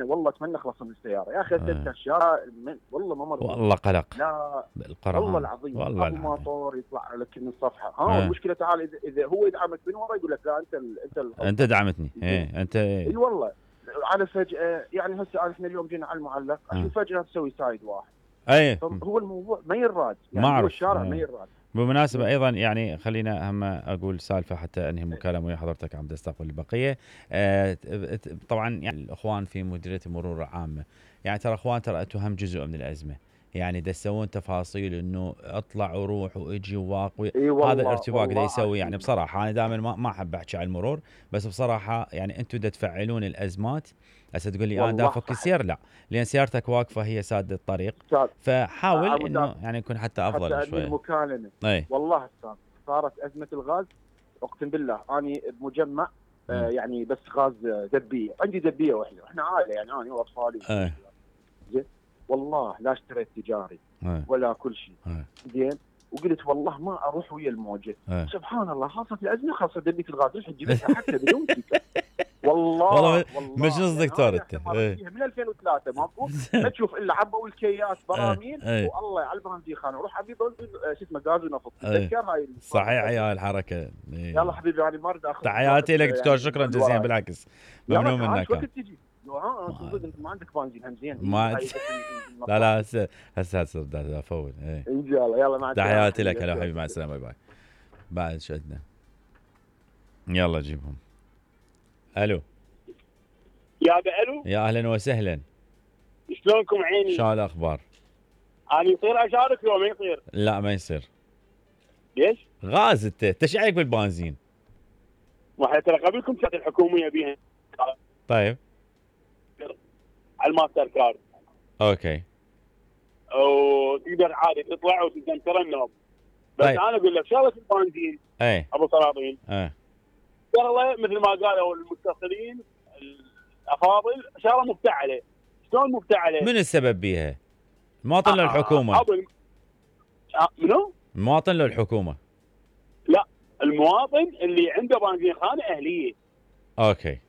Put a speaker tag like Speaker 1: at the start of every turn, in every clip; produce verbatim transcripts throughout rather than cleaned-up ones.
Speaker 1: والله اتمنى اخلص من السياره يا اخي. اسئله الشارع والله ما مرضي
Speaker 2: والله قلق.
Speaker 1: لا
Speaker 2: بالقرهان
Speaker 1: والله العظيم.
Speaker 2: والله
Speaker 1: ابو
Speaker 2: العظيم.
Speaker 1: ماطور يطلع لك من الصفحه. ها المشكله تعال اذا, إذا هو يدعمك من ورا يقول لك لا انت ال انت ال
Speaker 2: انت دعمتني. ايه انت ايه.
Speaker 1: اي والله. على فجاه يعني هسه احنا اليوم جينا على المعلق عشان فجاه تسوي سايد واحد.
Speaker 2: اي
Speaker 1: هو الموضوع ما يراد يعني.
Speaker 2: ما
Speaker 1: هو الشارع ما يراد.
Speaker 2: بالمناسبة أيضا يعني خلينا هم أقول سالفة حتى أنهي المكالمة ويا حضرتك عم تستقبل البقية. أه طبعا يعني الأخوان في مديرية المرور العامة يعني ترى أخوان ترى أنتم هم جزء من الأزمة. يعني دا تسوون تفاصيل انه اطلع وروح واجي وواقوي.
Speaker 1: إيه
Speaker 2: هذا الارتباك دا يسوي يعني بصراحه انا دائما ما ما احب احكي عن المرور بس بصراحه يعني انتم دا تفعلون الازمات. هسه تقول لي انا دا افك السير لا لان سيارتك واقفه هي ساده الطريق. فحاول انه يعني يكون حتى افضل
Speaker 1: حتى
Speaker 2: شوي.
Speaker 1: المكالمه أي. والله استاذ صارت ازمه الغاز اقسم بالله اني بمجمع آه يعني بس غاز دبيه عندي دبيه واحده احنا عائله يعني انا واطفالي. زين والله لا اشتريت تجاري
Speaker 2: أي.
Speaker 1: ولا كل شيء
Speaker 2: زين
Speaker 1: وقلت والله ما اروح ويا الموجه.
Speaker 2: أي.
Speaker 1: سبحان الله خاصه الازمه خاصه دبيه الغاز رح تجيبها حتى بدون تيكت. والله
Speaker 2: والله مش قصدك دكتور انت
Speaker 1: من ألفين وثلاثة ماكو ما تشوف الا عبوا الكياس براميل والله على البنزين خانه روح ابي شو اسمه غاز ونفط. تذكر هاي
Speaker 2: صحيح يا الحركه.
Speaker 1: يلا حبيبي يعني ما اريد اخذ
Speaker 2: تحياتي لك دكتور. شكرا جزيلا بالعكس ممنون منك.
Speaker 1: وقت تجي ها انت ما عندك بنزين هم زين
Speaker 2: ما لا لا هسه هسه هسه افول ايه
Speaker 1: ان شاء الله. يلا مع السلامه.
Speaker 2: تحياتي لك. هلا حبيبي مع السلامه. باي باي. بعد شو عندنا يلا جيبهم. الو
Speaker 3: يا الو
Speaker 2: يا اهلا وسهلا.
Speaker 3: شلونكم عيني؟
Speaker 2: شو الاخبار؟
Speaker 3: انا يصير اشارك لو ما يصير؟
Speaker 2: لا ما يصير.
Speaker 3: ليش؟
Speaker 2: غاز انت تشعيك بالبنزين.
Speaker 3: ما احنا ترى قبلكم كانت الحكوميه بيها.
Speaker 2: طيب
Speaker 3: على الماستر كارد.
Speaker 2: اوكي.
Speaker 3: وتقدر عادي تطلع وتقدر ترنب. بس طيب. انا اقول لك شغله البنزين
Speaker 2: اي
Speaker 3: ابو سلاطين.
Speaker 2: اي
Speaker 3: شغله مثل ما قالوا المتصلين الافاضل شغله مفتعله. شلون مفتعله؟
Speaker 2: من السبب بيها؟ المواطن آه لو الحكومه؟
Speaker 3: آه منو؟
Speaker 2: المواطن لو الحكومه؟
Speaker 3: لا المواطن اللي عنده بنزين خانه اهليه.
Speaker 2: اوكي.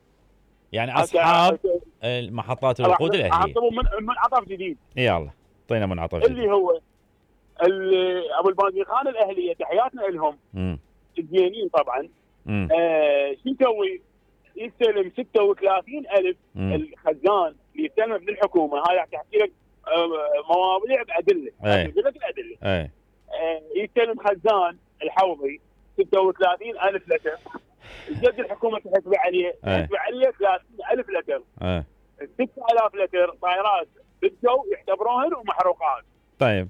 Speaker 2: يعني اصحاب المحطات الوقود الاهليه.
Speaker 3: من منعطف جديد.
Speaker 2: يلا اعطينا منعطف جديد.
Speaker 3: اللي هو اللي ابو البنزين خانه الاهليه تحياتنا لهم.
Speaker 2: امم
Speaker 3: الزينين طبعا. آه شو يسوي؟ يستلم ستة وثلاثين ألف الخزان اللي يستلم من الحكومه. هاي راح تحكي لك مواضيع بادله.
Speaker 2: اقول
Speaker 3: لك الادله.
Speaker 2: اي
Speaker 3: آه يستلم خزان الحوضي ستة وثلاثين ألف لتر. الجد الحكومه تحسب عليه تحسب عليه ثلاثين ألف لتر.
Speaker 2: اي
Speaker 3: ستة آلاف لتر طائرات بالجو يعتبروهن ومحروقات.
Speaker 2: طيب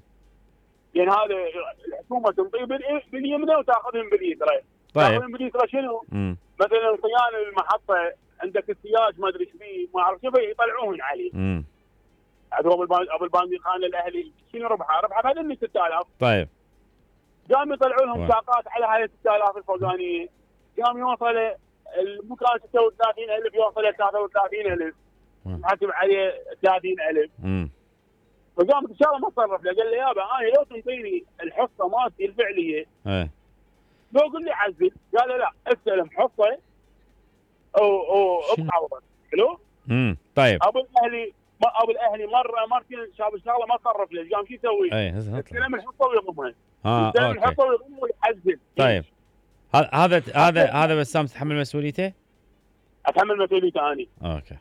Speaker 3: يعني هذا الحكومه تنطيه باليمنى وتاخذهم باليسرى.
Speaker 2: طيب
Speaker 3: تاخذهم باليسرى شنو؟
Speaker 2: مم.
Speaker 3: مثلا صيانه المحطه عندك السياج ما ادري ايش فيه ما اعرف شو يطلعوهن عليه.
Speaker 2: امم
Speaker 3: ابو ابو البنزين خان الاهلي شنو ربحه؟ ربحه بهذني ستة آلاف.
Speaker 2: طيب
Speaker 3: قام يطلعوا لهم باقات على هاي ستة آلاف الفوقانيه. قام يوصل المكان ستة وثلاثين ألف يوصل ثلاثة وثلاثين ألف. حاسب عليه ثلاثين ألف.
Speaker 2: امم
Speaker 3: فقام ان شاء الله ما تصرف له قال لي يابا انا لو تنطيني الحصه مالتي الفعليه
Speaker 2: ايه
Speaker 3: لو قل لي عزل. قال له لا استلم حصه او او ابعوضك. حلو.
Speaker 2: امم طيب
Speaker 3: ابو الاهلي ما ابو الاهلي مره مرتين شاف الشغله ما صرف له. قام شو يسوي؟
Speaker 2: ايه
Speaker 3: استلم الحصه ويضمها.
Speaker 2: اه
Speaker 3: استلم الحصه ويضمها ويعزل.
Speaker 2: طيب هذا هذا هذا بسام تتحمل مسؤوليته؟
Speaker 3: اتحمل مسؤوليته اني.
Speaker 2: اوكي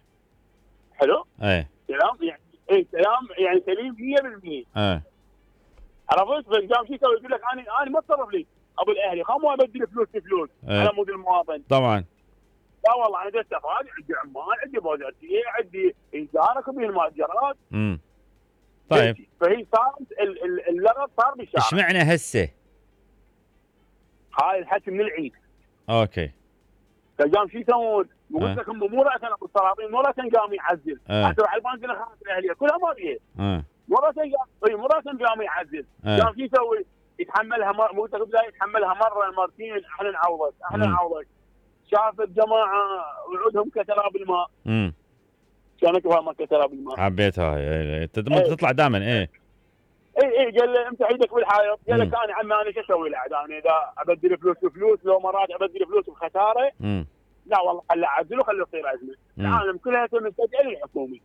Speaker 3: حلو.
Speaker 2: ايه
Speaker 3: كلام يعني ايه كلام يعني سليم مية بالمية.
Speaker 2: ايه
Speaker 3: عرفت؟ بس قام شو يسوي؟ يقول لك انا انا ما اتصرف لي ابو الاهلي خم ابدل فلوس بفلوس
Speaker 2: ايه.
Speaker 3: على مود المواطن.
Speaker 2: طبعا
Speaker 3: لا والله انا قلت افادي عندي عمال عندي بوزارتيه عندي اداره كبير المؤجرات.
Speaker 2: امم طيب
Speaker 3: فهي صارت اللغط صار بالشارع.
Speaker 2: ايش معنى هسه؟
Speaker 3: هاي الحكي من العيد.
Speaker 2: اوكي.
Speaker 3: فقام شو يسوون؟ قلت لك هم مو راسا ابو السلاطين مو راسا قام يعزل. حتى على البنزين خانت الاهليه كلها ما بيها.
Speaker 2: اه
Speaker 3: مو راسا قام مو راسا قام يعزل. قام شو يسوي؟ يتحملها مر... مو بدايه يتحملها مره مرتين احنا نعوضك احنا نعوضك. شاف الجماعه وعودهم كتراب الماء.
Speaker 2: امم
Speaker 3: كانك فاهم كتراب الماء.
Speaker 2: حبيتها هاي انت تطلع دائما ايه
Speaker 3: اي اي قال له امسح ايدك بالحائط. قال لك انا عمي انا شو اسوي له انا اذا ابدل فلوس بفلوس لو مرات ابدل فلوس بخساره.
Speaker 2: امم
Speaker 3: لا والله خليه عزله خليه يصير ازمه. العالم كلها تستدعي للحكومه.